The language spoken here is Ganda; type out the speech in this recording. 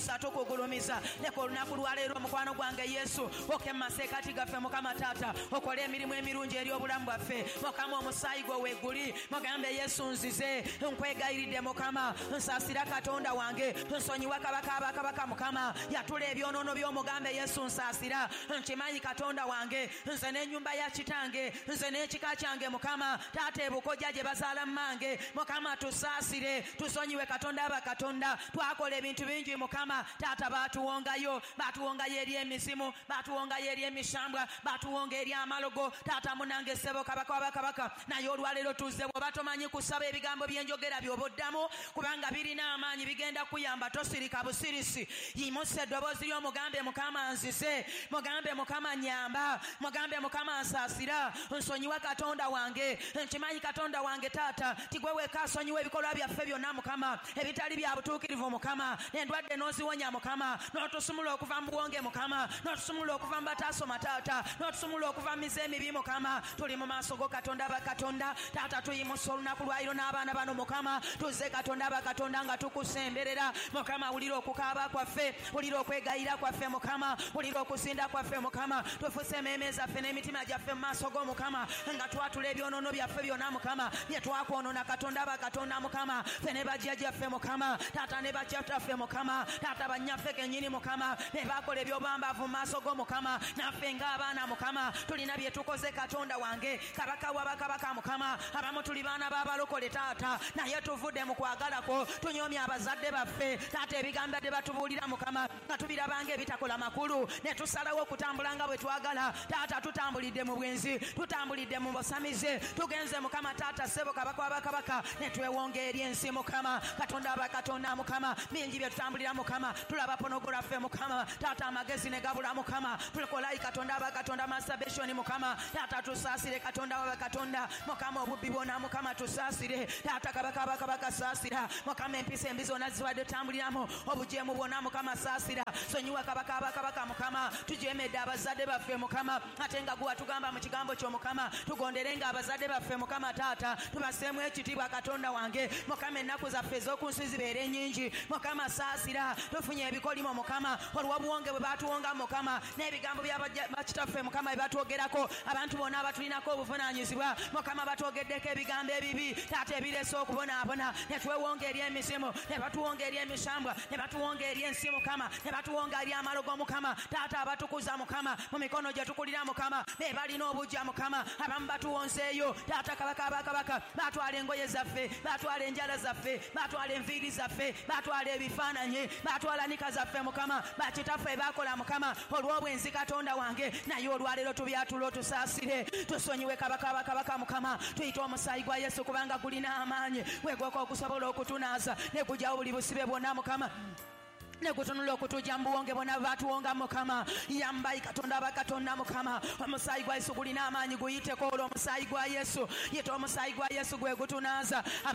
Tukuyimusa, tukugulumiza. Leka olunaku lwaleero mukwano gwange Yesu oke mu masekkati gaffe Mukama taata, okole emirimu emirungi eri obulamu bwaffe Mukama. Omusaayi gwo weeguli, mugambe Yesu nzize, nkwegayiridde Mukama, nsaasira Katonda wange, nsonyiwa kabaka abakabaka Mukama, yatula ebyonoono by'omugambe Yesu nsaasira, nkimanyi Katonda wange, nze n'ennyumba ya kitange, nze n'ekika kyange Mukama taata, ebukojja gye bazaala mmange Mukama, tusaasire, tusonyiwe Katonda abakatonda. Twakola ebintu bingi Mukama taata, baatuwongayo, baatuwongayo eri emizimu, baatuwongayo eri emishambwa, baatuwonga eri amalogo taata munange ssebo kabaka wabakabaka. Naye olwaleero tuzze, bw'oba tomanyi kusaba ebigambo byenjogera by'oba oddamu, kubanga birina amaanyi, bigenda kuyamba. Tosirika busirisi, yimusa eddoboozi ly'omugambe Mukama nzize, mugambe Mukama nyamba, mugambe Mukama nsaasira, nsonyiwa Katonda wange. Nkimanyi Katonda wange taata tigwe weka asonyiwa ebikolwa byaffe byonna Mukama ebitali bya butuukirivu Mukama, endwadde n'oziwonya Mukama, n'otusumula okuva mu buwonge Mukama, n'otusumula okuva mu bataasoma taata, n'otusumula okuva mu mize emibi Mukama. Tuli mu maaso go Katonda bakatonda taata, tuyimusa olunaku lwaliro n'abaana bano Mukama, tuzze Katonda bakatonda nga tukusemberera Mukama. Wulira okukaaba kwaffe, wulira okwegayira kwaffe Mukama, wulira okusinda kwaffe Mukama. Tufuse emmeeme zaffe n'emitima gyaffe mu maaso go Mukama, nga twatula ebyonoono byaffe byonna Mukama bye twakwonoona Katonda bakatonda Mukama, ffe ne bajjajjaffe Mukama taata, ne bakitaffe Mukama taata, bannyaffe kennyini Mukama be baakola ebyobwambaavu mu maaso go Mukama. Naffe ng'abaana Mukama tulina bye tukoze Katonda wange kabaka w'abakabaka Mukama. Abamu tuli baana b'abalokole taata, naye tuvudde mu kwagala kwo, tunyoomya abazadde baffe taata, ebigambo bye batubuulira Mukama nga tubirabanga ebitakola makulu, ne tusalawo okutambula nga bwe twagala taata. Tutambulidde mu bwenzi, tutambulidde mu busamize, tugenze Mukama taata ssebo kabaka w'abakabaka, ne twewonga eri ensi Mukama Katonda abakatonda Mukama. Bingi bye tutambulira Mukama, tulaba pornography Mukama taata, amagezi ne gabula Mukama, tukolayi Katonda abakatonda masturbation Mukama taata, tusaasire Katonda w'abakatonda Mukama, obubbi bwonna Mukama tusaasire taata, kabaka abakabaka saasira Mukama, empisa embi zonna zibadde tutambuliramu, obujeemu bwonna Mukama saasira, sonyiwa kabaka abakabaka Mukama. Tujeemedde abazadde baffe Mukama, ate nga gwe watugamba mu kigambo kyo Mukama tugonderenga abazadde baffe Mukama taata, tubaseemu ekitiibwa Katonda wange Mukama, ennaku zaffe ez'oku nsi zibeere nnyingi Mukama saasira. Tufunye ebikolimo Mukama olw'obuwonge bwe batuwonga Mukama, n'ebigambo bya bakitaffe Mukama bye batwogerako, abantu bonna abatulinako obuvunaanyizibwa Mukama batwogeddeko ebigambo ebibi taata ebireese okubonaabona, ne twewonga eri emizimu, ne batuwonga eri emisambwa, ne batuwonga eri ensi Mukama, ne batuwonga eri amalogo Mukama taata. Abatukuza Mukama mu mikono gye tukulira Mukama be balina obujja Mukama, abamu batuwonzeeyo taata kabaka abakabaka, batwala engoye zaffe, batwala enjala zaffe, batwala enviiri zaffe, batwala ebifaananyi, batwala nika zaffe Mukama, bakitaffe bakola Mukama olw'obwenzi Katonda wange. Naye olwaleero tubyatula, otusaasire, tusonyiwe kabaka abakabaka Mukama. Tuyite omusaayi gwa Yesu kubanga gulina amaanyi, gwegwoka okusobola okutunaaza ne gujjawo buli busibe bwonna Mukama, ne gutunula okutujja mu buwonge bwonna batuwonga Mukama. Yambayi Katonda abakatonda Mukama, omusaayi gwa Yesu gulina amaanyi, guyiteko olwo omusaayi gwa Yesu, yita omusaayi gwa Yesu gwe gutunaaza.